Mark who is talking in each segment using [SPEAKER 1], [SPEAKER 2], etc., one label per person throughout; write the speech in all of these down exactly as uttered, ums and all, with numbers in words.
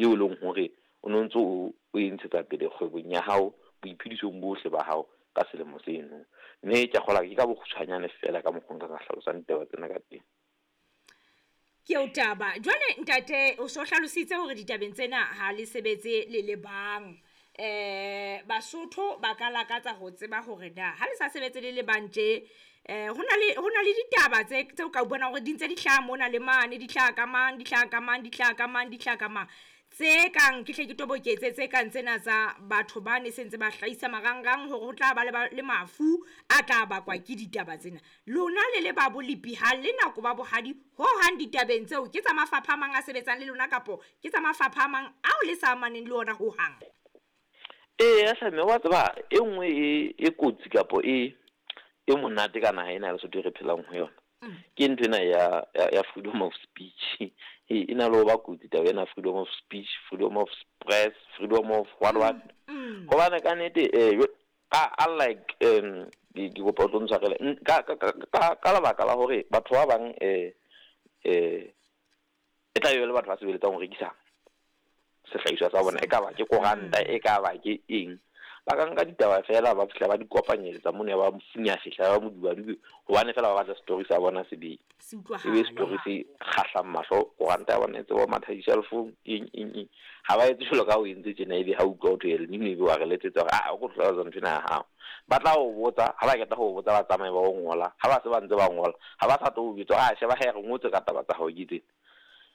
[SPEAKER 1] eo e leng hore o no ntso o o e ntshetsa pele kgwebong ya hao, boiphedisong bohle ba hao ka selemo seno. Mme ke a kgolwa ke ka bokgutshwanyane feela ka mokgwa nka ka hlalosang ditaba tsena ka teng.
[SPEAKER 2] Ke eo taba. Jwale ntate o so hlalositse hore ditabeng tsena ha le sebetse le le bang. Eh Basotho ba ka lakatsa ho tseba hore na ha le sa sebetse le le bang tje, eh hona le hona le ditaba tse tseo ka bona hore di ntse di hlaha mona le mane, di hlaha ka mang, di hlaha ka mang, di hlaha ka mang, di hlaha ka mang. Tse kang ke hle ke toboketse tse kang tsena tsa batho ba ne sentse ba hlahisa marangrang hore ho tla ba le ba le mafu a tla bakwa ke ditaba tsena. Lona le le ba bolepi ha le nako ba bohadi ho hang ditabeng tseo, ke tsa mafapha a mang a sebetsang le lona kapo ke tsa mafapha a mang ao le sa amaneng le ona ho hang?
[SPEAKER 1] Eya hle mme wa tseba e nngwe e e kotsi kapo e e monate ka naha ena ya Lesotho e re phelang ho yona. Ke nthwena ya ya freedom of speech. E na le ho ba kotsi taba ena freedom of speech, freedom of press, freedom of what what. Hobane ka nnete eh unlike um ke kopa o tlo ntshwarele ka ka ka ka lebaka la hore batho ba bang eh eh e tla be le batho ba sebeletsang ho rekisa sehlahiswa sa bona, e ka ba ke koranta, e ka ba ke eng. Ba ka nka ditaba feela ba fihla ba di kopanyeletsa mono ya ba mofunya fihla ba modubadubi hobane feela ba batla story sa bona se be
[SPEAKER 2] Se
[SPEAKER 1] e be story se kgahlang mahlo, koranta ya bona e tsebe ho matha di-shelf-ong eng eng eng. Ha ba etse jwalo ka o entse tjena ebe ha utlwa ho thwe El Nino ebe wa re letsetsa hore aa o ko hlalosa nthwena ya hao. Ba tla o botsa, ha ba qeta ho botsa ba tsamaye ba o ngola, ha ba se ba ntse ba ngola, ha ba sa tlo o jwetsa hore a sheba hee re ngotse ka taba tsa hao ke tsena.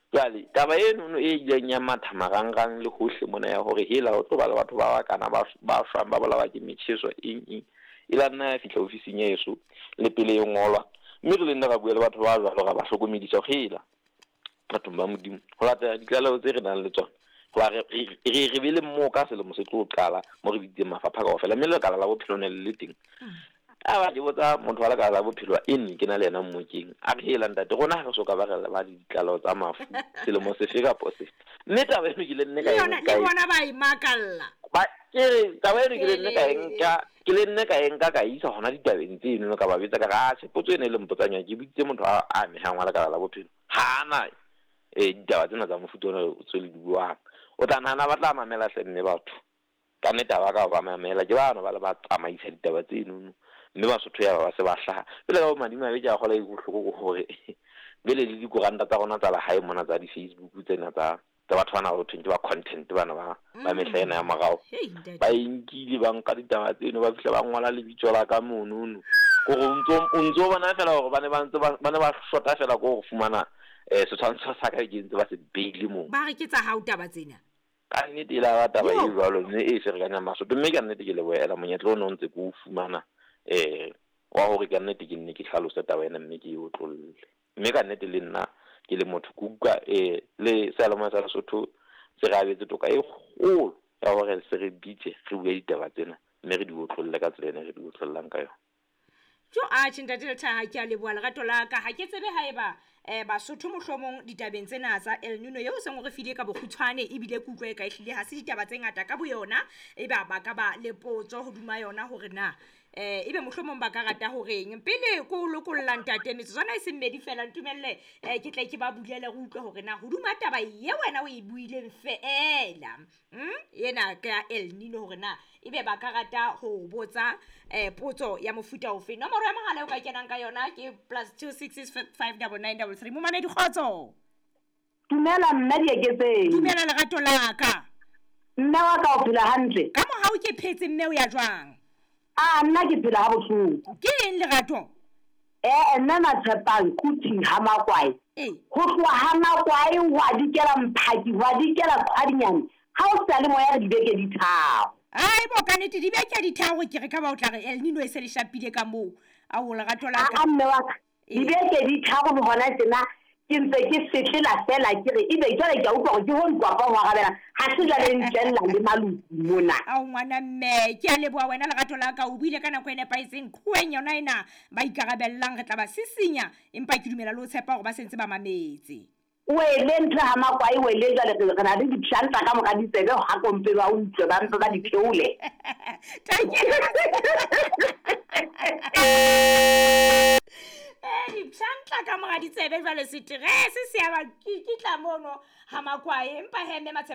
[SPEAKER 1] Jwale taba enono e ileng ya matha marangrang le hohle mona ya hore hela ho tlo ba le batho ba bakana ba ba shwang ba bolawa ke metjheso eng eng, e la nna ya fihla ofising ya heso le pele e ngolwa. Mme re le nna ra bua le batho ba jwalo ra ba hlokomedisa hore hela bathong ba Modimo ho latela ditlaleho tse re nang le tsona hoba re re re be le moo ka selemo se tlo qala mo re bitseng mafapha kaofela, mme lekala la bophelo ne le le teng. A ba ke botsa motho wa lekala la bophelo e nne ke na le yena mmokeng, a re hela ntate rona ha re soka ba re ba le ditlaleho tsa mafu selemo sefe kapo sefe. Mme taba eno ke le nne ka
[SPEAKER 2] Le yona
[SPEAKER 1] e
[SPEAKER 2] le bona ba e makalla.
[SPEAKER 1] Ba ke re taba eno ke le nne ka e nka, ke le nne ka e nka ka isa hona ditabeng tseno ka ba jwetsa ka re atjhe potso ena e le mpotsang yona ke bitsitse motho a amehang wa lekala la bophelo ha ana eh ditaba tsena tsa mofuta ona tse le di buang. O tla nahana ba tla mamela hle mme batho. Ka nnete ha ba ka ba mamela, ke bano ba le ba tsamaisa ditaba tsenono. Mme Basotho ya ba se ba hlaha. Jwale ka bo madimabe ke a kgolwa e bohloko ke hore bele le dikoranta tsa rona tsa lehae mona tsa di-Facebook tsena tsa tsa batho bana ba ho thweng ke ba content bana ba ba mehla ena ya morao. Ba e nkile ba nka ditaba tseno ba fihla ba ngola lebitso la ka monono. Kore o ntso o ntso bona feela hore ba ne ba ntse ba ba ne ba shota feela ko ho fumana eh setshwantsho sa ka ke ntse ba se beile moo.
[SPEAKER 2] Ba re ke tsa hao taba tsena.
[SPEAKER 1] Ka nnete e la ba taba e jwalo mme e ferekanyang Basotho. Mme ka nnete ke lebohela monyetla ono o ntse ke o fumana eh wa hore ka nnete ke nne ke hlalose taba ena mme ke e otlolle. Mme ka nnete le nna ke le motho ke utlwa eh le seyalemoya sa Lesotho se re abetse toka e kgolo ya hore se re bitse re bue ditaba tsena mme re di otlolle ka tsela ena re di otlollang ka yona.
[SPEAKER 2] Jo atjhe ntate Lethaha, ke a leboha lerato la ka. Ha ke tsebe haeba eh Basotho mohlomong ditabeng tsena tsa El Nino eo seng o re file ka bokgutshwane ebile ke utlwe ka ehlile ha se ditaba tse ngata ka boyona, eba ba ka ba le potso hodima yona hore na eh ebe mohlomong ba ka rata horeng. Pele ko o lokolla ntate metsotswana e seng mmedi feela ntumelle eh ke tle ke ba bulele re utlwe hore na hodima taba ye wena o e buileng feela mm ena ka ya El Nino hore na ebe ba ka rata ho botsa eh potso ya mofuta ofe. Nomoro ya mohala o ka kenang ka yona ke plus two six six five double nine double three. Momamedi kgotso.
[SPEAKER 3] Dumela mme Dieketseng.
[SPEAKER 2] Dumela lerato la ka.
[SPEAKER 3] Mme wa ka o phela hantle?
[SPEAKER 2] Ka mohau ke phetse mme o ya jwang?
[SPEAKER 3] Ah, nna ke phela ha bohloko.
[SPEAKER 2] Ke eng lerato?
[SPEAKER 3] Eh, nna na tshepang Kuting ha Makwae.
[SPEAKER 2] Eh.
[SPEAKER 3] Ho tloha ha Makwae wa dikela Mphaki, wa dikela Qhwadinyane. Ha o sa le moya re dibeke di tharo.
[SPEAKER 2] Ai bo ka nnete dibeke di tharo ke re ka ba o tla re El Nino e se le shapile ka moo. A o lerato la ka.
[SPEAKER 3] Ah, mme wa ka. Dibeke di tharo le hona tjena ke ntse ke setlela feela ke re ebe jwale ke a utlwa hore ke ho nkwapa ho arabela ha se jwale ntlella le maluti mona.
[SPEAKER 2] Ao ngwana mme ke a leboha wena lerato la ka, o buile ka nako e nepahetseng. Qhoweng yona ena ba ikarabellang re tla ba sisinya, empa ke dumela le ho tshepa hore ba sentse ba mametse.
[SPEAKER 3] Wele ntho ha Makwae wele jwale re na le dipshantla ka mora ditsebe ha kompe ba utlwe ba mpe ba di theole.
[SPEAKER 2] Thank you. Eh dipshantla ka mora ditsebe jwale seterese se ya ba kitla mono ha Makwae empa he mme Matshepe